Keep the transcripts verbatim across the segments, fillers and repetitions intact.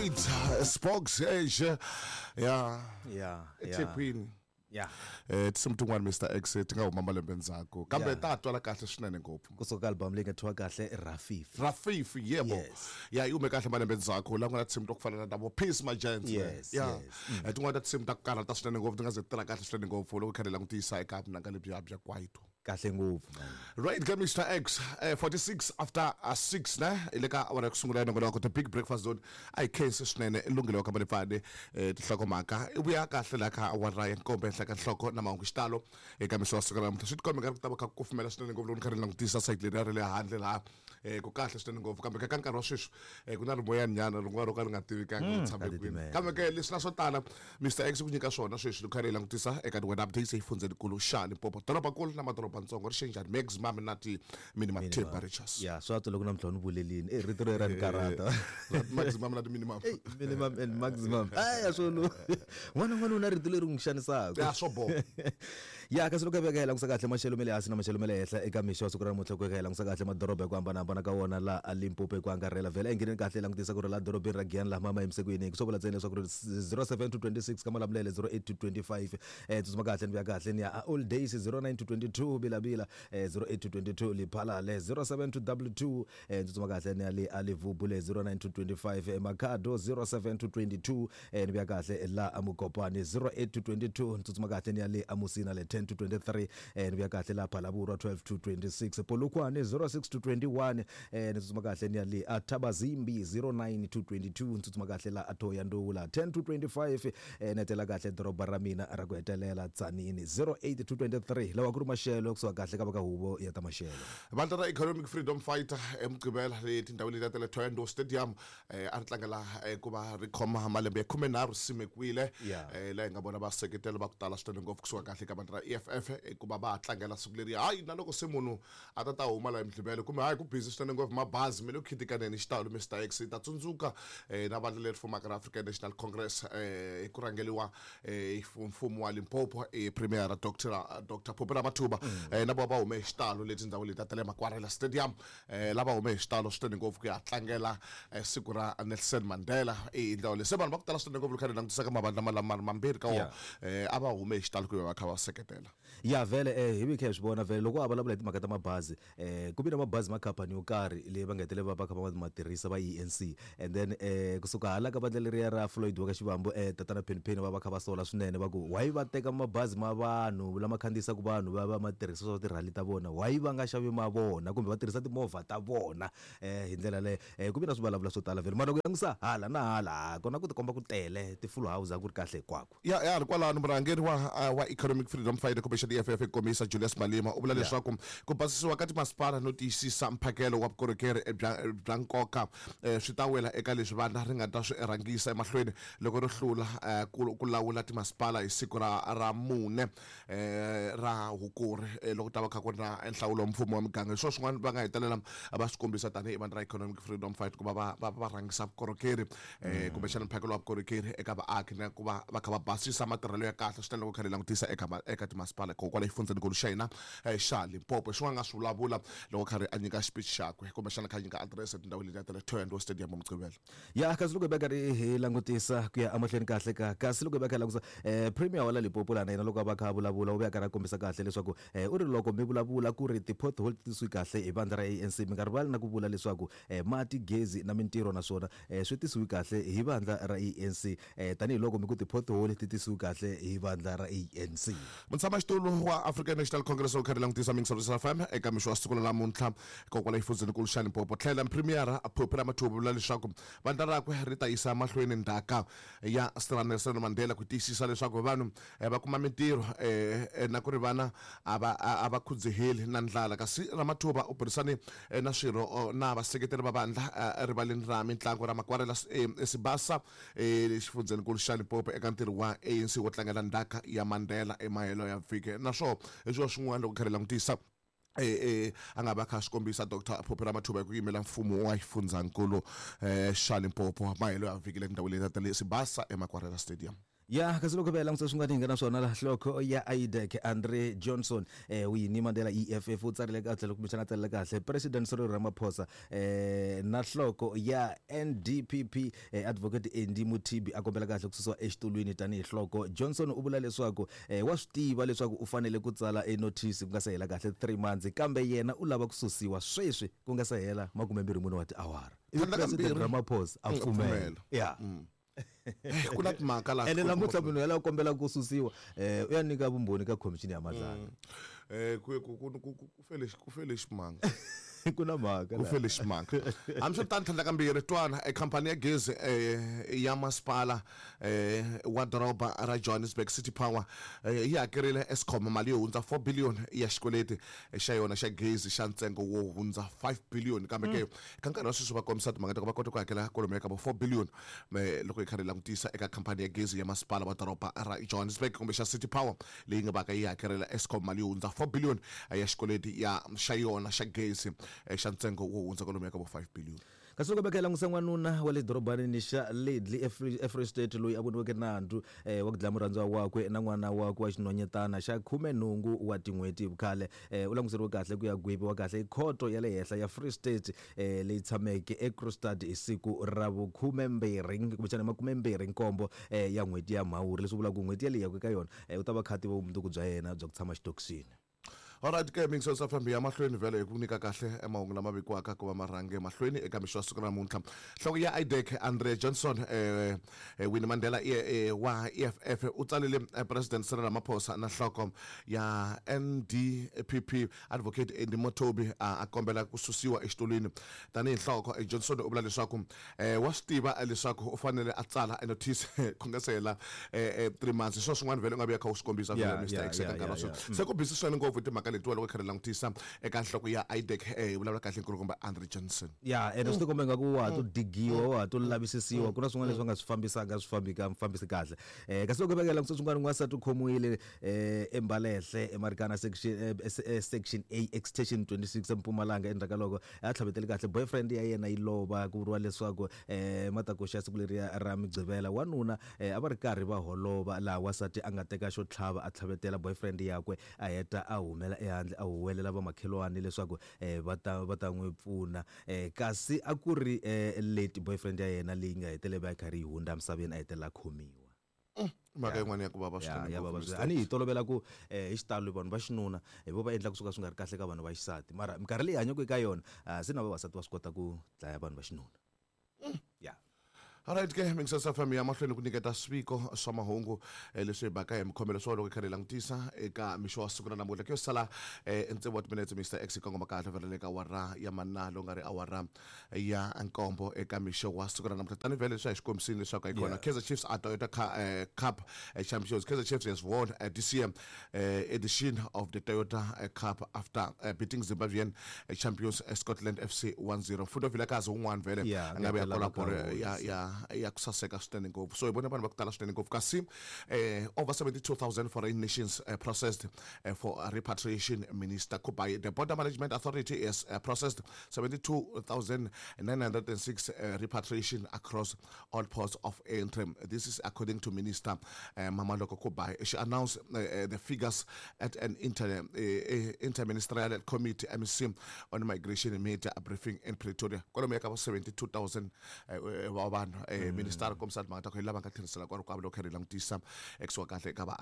Right, Spox Age. Yeah. Yeah. Ethekwini. Yeah. Eh tinsimu tin'wana Mister X ti nga huma malembe ndzhaku kambe ta twala kahle swinene ngopfu. Kusuka album leyi nga thyiwa kahle Rafifi. Rafifi yebo. Yes. Yeah, yi hume kahle malembe ndzhaku la ku nga na tinsimu to ku fana na ta vo Peace My Giants. Yes. Yeah. Yes. Mm. Tin'wana ta tinsimu ta ku karhata swinene ngopfu ti nga ze ti tirha kahle swinene ngopfu loko kha hi langutisa eka vunanga lebyiya bya kwaito. Kahle ngopfu man. Right, ka Mister X, eh, forty-six after uh, six ne ile ka awara ya ku sungula nongonoko The Big Breakfast Zone. A hi khensi swinene i lunghelo ka Malipfane eh tinhlokomhaka i vuya kahle la ka awara ya nkombo ehenhla ka nhloko na mahungu xitalo eka mixo wa siku ra namuntlha. Swi tikombe nga ri ku ta va kha ku kufumela swinene ngopfu loko ni kha ni langutisa site leri ra le handle laha eh ku kahle swinene ngopfu kambe ka nkarhi wa sweswi eh ku na rimoyani nyana rin'wana ro ka ri nga tivikangi ri tshame kwini. Kambe ke leswi na swo tala Mister X ku nyika swona sweswi loko kha hi langutisa eka ti-weather updates exifundzhenikulu xa Limpopo, dorobankulu na madorobantsongo ri xe njhani maximum na ti-minimum temperatures. Yeah, swa twa loko namuntlha ni vulelini eh rito ro ra ni karhata. Maximum na ti-minimum. Hey, minimum and maximum. Ay swo no. N'wana n'wana u na rito leri n'wi xanisaka. Ya swo boha. Ya kasi loko hi veka hi langusa kahle maxelo ma le hansi na maxelo ma le henhla eka mixo wa siku ra namuntlha ku hi langusa kahle madoroba hi ku hambanahambana ka wona la a Limpopo hi ku angarhela vhele engheneni kahle langutisa ku ri la dorobeni ra Giyani laha mama yimise ku yini swo vula ntsena leswaku ri zero seven to twenty-six ka Malamulele zero eight to twenty-five eh tsutsuma kahle ni vuya kahle ni ya all days zero nine to twenty-two Bilabila eh zero eight to twenty-two Liphalale zero seven to double two eh tsutsuma kahle ni ya le Alivubule zero nine to twenty-five Makhado zero seven to twenty-two eh ni vuya kahle la Amukopani zero eight to twenty-two tsutsuma kahle ni ya le Amusina le ten to twenty-three eh ni vuya kahle la Phalaborwa twelve to twenty-six Polokwane zero six to twenty-one eh ni tsutsuma kahle ni ya le Athabazimbi zero nine to twenty-two tsutsuma kahle la Atoyandou la ten to twenty-five eh netela kahle doroba ra mina ra ku hetelela Tzaneen zero eight to twenty-three lawa ku ri maxelo kusuka kahle ka va ka huvo ya ta maxelo. Vandla ra Economic Freedom Fighter eMugqivela le tindhawini leti ta le Thohoyandou Stadium eh a ri tlangela ku va ri khoma malembe ya khumenharhu simekiwile eh laha hi nga vona vaseketeli va ku tala swinene ngopfu kusuka kahle ka vandla ra E F F ku va va tlangela siku leri hayi na loko se munhu a ta ta huma laha eMugqivela kumbe hayi ku busy swinene ngopfu mabazi me le ku khitikaneni xitalo Mister X ta tsundzuka eh na vandla leri fumaka ra African National Congress eh hi ku rhangeriwa eh mfumo wa Limpopo eh Premier Doctor Doctor Phophi Ramathuba eh na va hume xitalo leti ndhawu leti ta le Makwarela Stadium eh lava hume xitalo swinene ngopfu ku ya tlangela siku ra Nelson Mandela eh ndhawu leyi se vanhu va ku tala swinene ngopfu loko kha langutisa ka mavandla malama mambirhi ka wona eh a va hume xitalo ku va kha va seketela. Ya vhele eh hi vi kha hi swi vona vhele loko a vulavula hi timhaka ta mabazi eh ku vi na mabazi ma khampani yo karhi leyi va nga hetelela va va kha va ma tirhisa va E N C and then eh kusuka hala ka vandla leriya ra Floyd wa ka Xivambu eh tatana Penny va va kha va sola swinene va ku why va teka mabazi ma vanhu lama khandziyisaka vanhu va va ma tirhisa swa tirhali ta vona why va nga xavi ma vona kumbe va tirhisa timovha ta vona eh hi ndlela leyo eh ku vi na swivulavula swo tala vhele mara loko langutisa hala na hala kona ku tikomba ku tele ti-full house a ku ri kahle hinkwako. Ya ya ri kwalano murhangeri wa wa Economic Freedom Fighter Commission E F F komisa Julius Malema u vula leswaku ku basisiwa ka timasipala no tiyisisa mphakelo wa vukorhokeri bya bya nkoka swi ta wela eka leswi vandla ri nga ta swi rhangisa emahlweni loko ri hlula ku lawula timasipala hi siku ra ra mune ra Hukuri loko ta va kha ku ri na nhlawulo wa mfumo wa miganga. Hi swona swin'wana va nga hetelela va swi kombisa tanihi vandla ra Economic Freedom Fight ku va va va va rhangisa vukorhokeri kumbexana mphakelo wa vukorhokeri eka vaaki na ku va va kha va basisa matirhelo ya kahle swinene loko kha hi langutisa eka eka timasipala hikokwalaho exifundzhenikulu xa hina xa Limpopo. Xin'wana nga swi vulavula loko kha ri a nyika xipichi xakwe kumbexana kha a nyika adirese etindhawini letiya ta le Thohoyandou Stadium Mugqivela. Ya kasi loko hi va karhi hi langutisa ku ya emahlweni kahle ka kasi loko hi va kha hi langutisa eh Premier wa la Limpopo lana yena loko a va kha a vulavula u vuya karhi a kombisa kahle leswaku eh u ri loko mi vulavula ku ri ti-pothole ti tisiwi kahle hi vandla ra A N C mi nga rivali na ku vula leswaku eh mati gezi na mintirho naswona eh swi tisiwi kahle hi vandla ra A N C eh tanihiloko mi ku ti-pothole ti tisiwi kahle hi vandla ra A N C. Mutshamaxitulu wa African National Congress u kha langutisa Mingisa F M eka mixo wa siku ra namuntlha hikokwalaho exifundzhenikulu xa Limpopo tlhela Premier Phophi Ramathuba vula leswaku vandla rakwe ri ta yisa mahlweni ndzhaka ya Sir Nelson Mandela ku tiyisisa leswaku vanhu va kuma mintirho na ku ri vana a va a va khudzeheli na ndlala. Kasi Ramathuba u burisane na swirho na vaseketeri va vandla erivaleni ra mitlangu ra Makwarela Sibasa exifundzhenikulu xa Limpopo eka ntirho wa A N C wo tlangela ndzhaka ya Mandela emahelo ya vhiki. Naswona hi swona swin'wana loko kha hi langutisa eh eh a nga va kha swi kombisa Doctor Phophi Ramathuba hi ku yimela mfumo wa xifundzankulu eh xa Limpopo mahelo ya vhiki le tindhawini leti ta le Sibasa eMakwarela Stadium. Ya kasi loko va langutisa swin'wana hi nga na swona la hloko ya I D E C Andre Johnson eh Winnie Mandela E F F u tsarile kahle kumbexana tsarile kahle President Cyril Ramaphosa eh na hloko ya N D P P eh, Advocate Andy Mothibi a kombela kahle ku susiwa exitulwini tanihi hloko. Johnson u vula leswaku eh, wa swi tiva leswaku u fanele ku tsala e notice ku nga se hela kahle three months kambe yena u lava ku susiwa sweswi ku nga se hela makumembirhi mune wa tiawara. President Ramaphosa a pfumela. Yeah. Ku na timhaka laha ene namuntlha munhu yaloye kombela ku susiwa eh u ya nyika vumbhoni ka commission ya Madlanga. Eh ku ku ku ku fele ku fele ximanga. Ku na mhaka ku fele ximanga. Hambiswiritano tlhandla kambirhi twana e khampani ya gezi eh ya masipala eh wa doroba ra Johannesburg City Power yi hakerile Eskom mali yo hundza four billion ya xikweleti xa yona xa gezi xa ntsengo wo hundza five billion kambe ke ka nkarhi wa sweswi va kombisa timhaka ta ku va kota ku hakela kwalomu ya ka vo four billion loko hi karhi hi langutisa eka khampani ya gezi ya masipala wa doroba ra Johannesburg kumbe xa City Power leyi nga vaka yi hakelela Eskom mali yo hundza four billion ya xikweleti ya xa yona xa gezi xa ntsengo wo hundza kwalomu ya ka vo five billion. Kasi loko va langutisa n'wanuna wa le dorobanini xa Ledley eFree State loyi a voniweke nandzu eh, wa ku dlaya murhandziwa wakwe na n'wana wakwe wa xinhwanyetana xa khumenhungu wa tin'hweti hi vukhale eh, u languteriwe kahle ku ya gweviwa kahle hi khoto ya le henhla ya Free State eh, leyi tshameke eKroonstad hi siku ra vukhumembirhi kumbexana makumembirhi nkombo eh, ya n'hweti ya Mhawuri, leswi vulaka ku n'hweti yaleyi yaka ka yona eh, u ta va kha tiva vumundzuku bya yena bya ku tshama xitokisini. Alright ke Mixo S F M ya mahlweni vhele hi ku nyika kahle emahungu lama vikiwaka ku va marhange mahlweni eka mixo wa siku ra namuntlha. Nhloko ya I D E C Andre Johnson eh, Winnie Mandela eh, wa E F F u tsalele President Cyril Ramaphosa na nhloko ya N D P P Advocate Andy Mothibi a kombela ku susiwa exitulwini tanihi nhloko. Johnson u vula leswaku eh, wa swi tiva leswaku u fanele a tsala a notice ku nga se hela eh, three months. Swona swin'wana vhele u nga vuya kha u swi kombisa vhele Mister X eka nkarhi wa sweswi. Se ku busy swinene ngopfu timhaka letiwa loko kha ri langutisa eka nhloko ya I D E C eh vulavula kahle nkulukumba Andre Johnson. Ya ene swi tikomba ingaku wa ha to digiwa wa ha to lavisisiwa ku na swin'wana leswi va nga swi fambisanga swi fambi ka fambisi kahle. Eh kasi loko va langutisa swin'wana n'wansati u khomiwile eh eMbalehle eMarikana section section A extension twenty-six eMpumalanga endzhaku ka loko a tlhavetele kahle boyfriend ya yena yi lova ku vuriwa leswaku eh matakuxa siku leriya ra Mugqivela wanuna a va ri karhi va holova laha wansati a nga teka xo tlhava a tlhavetela boyfriend yakwe a heta a humela ehandle a huwelela vamakhelwani leswaku eh, va ta va ta n'wi pfuna eh, kasi a ku ri eh, late boyfriend ya yena leyi nga hetelela va yi karhi yi hundza emisaveni a hetelela khomiwa. Mhaka yin'wana ya ku vava swinene ya vava swinene. A ni hi tolovela ku eh, hi xitalo vanhu va xinuna hi vo va endla kusuka swi nga ri kahle ka vanhu va xisati mara minkarhi leyi hanyaka eka yona se na vavasati va swi kota ku dlaya vanhu va xinuna. Ya. Alright ke Mixo S F M ya mahlweni ku nyiketa swiviko swa mahungu leswi hi baka hi mikhomelo swa loko hi karhi hi langutisa eka mixo wa siku ra namuntlha ku yo sala ntsevu wa timinetse Mister X kongoma kahle vhele ka awara ya manna lowu nga ri awara ya nkombo eka mixo wa siku ra namuntlha tani vhele leswi hi xikombisini leswaku hi kona Kaizer Chiefs a Toyota Cup Champions. Kaizer Chiefs has won this year edition of the Toyota Cup after beating Zimbabwean champions Scotland F C one zero. Mfundo Vilakazi un'wana vhele a nga vuya kola bolo ya ya ya ku saseka swinene ngopfu. So hi vona vanhu va ku tala swinene ngopfu kasi eh, over seventy-two thousand foreign nations uh, processed uh, for repatriation. Minister Kubayi, the Border Management Authority has uh, processed seventy-two thousand nine hundred six uh, repatriation across all ports of entry. This is according to Minister uh, Mamaloko Kubayi. She announced uh, uh, the figures at an inter, uh, interministerial committee M C on migration made a briefing in Pretoria. Kwalomu ya ka seventy-two thousand wa vanhu eh minister kombisa timhaka ta ku hi lava nga tlherisela kwalo kwavo loko hi langutisa ekusuka kahle ka va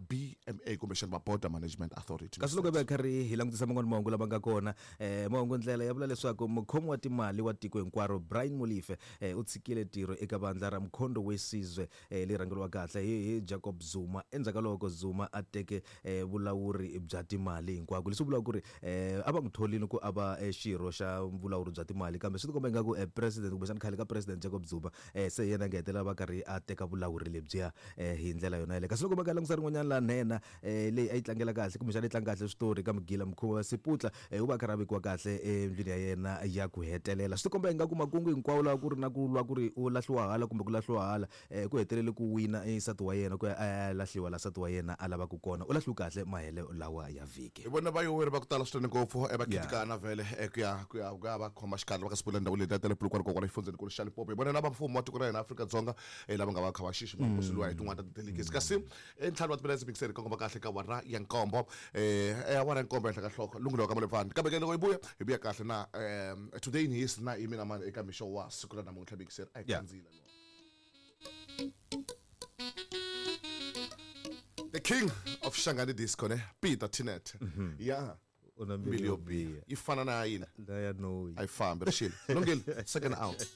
B M A kumbexana va Border Management Authority. Kasi loko va karhi hi langutisa man'wana mahungu lama nga kona eh mahungu ndlela ya vula leswaku mukhomi wa timali wa tiko hinkwaro Brian Molefe eh, u tshikile ntirho eka vandla ra Mkhonto weSizwe eh, leyi rhangeriwa kahle hi Jacob Zuma endzhaku ka loko Zuma a teke eh, vulawuri bya timali hinkwako, leswi vulaka ku ri eh, a va n'wi tholile ku a va xirho xa vulawuri bya timali kambe swi tikomba ingaku eh, president kumbexana khale ka president Jacob Zuma eh, se yena nga hetelela va karhi a teka vulawuri lebyiya eh, hi ndlela yona yaleyo. Kasi loko va ka langutisa rin'wanyana la nhenha eh, leyi a yi tlangela kahle kumbexana yi tlanga kahle switori ka Mugila Mkhuva Seputla eh, u va karhi a vekiwa kahle endlwini ya yena ya ku hetelela. Swi tikomba ingaku makungu hinkwawo lawa ku ri na ku lwa ku ri u lahliwa hala kumbe ku lahliwa hala eh, ku hetelele ku wina nsati wa yena ku ya a lahliwa la nsati wa yena a lavaka kona u lahliwe kahle mahelo lawa ya vhiki. Hi vona vayoweri va ku tala swinene ngopfu va khitikana vhele ku ya ku ya ku ya va khoma xikarhi va ka sipula ndhawu leyi ta le Polokwane kokwala exifundzhenikulu xa Limpopo. Hi vona lava mfumo wa tiko ra hina Afrika-Dzonga eh, lava nga va kha va xixima nkosi luwa hi tin'wana ta ti-delegates kasi entlhanu wa timinetse mixeri kongoma kahle ka awara ya nkombo eh eh, awara ya nkombo ehenhla ka nhloko lunghelo ka malevani kambe ke loko hi vuya hi vuya kahle na um today in history na yimi na mani eka mixo wa siku ra namuntlha mixeri a hi Yeah. khandziyile the king of Shangani disco ne Peter Tinet yeah U na mbilu mbilu yo yo biha biha yi fana na yini na ya noyi a yi fambi rixile lungile second out.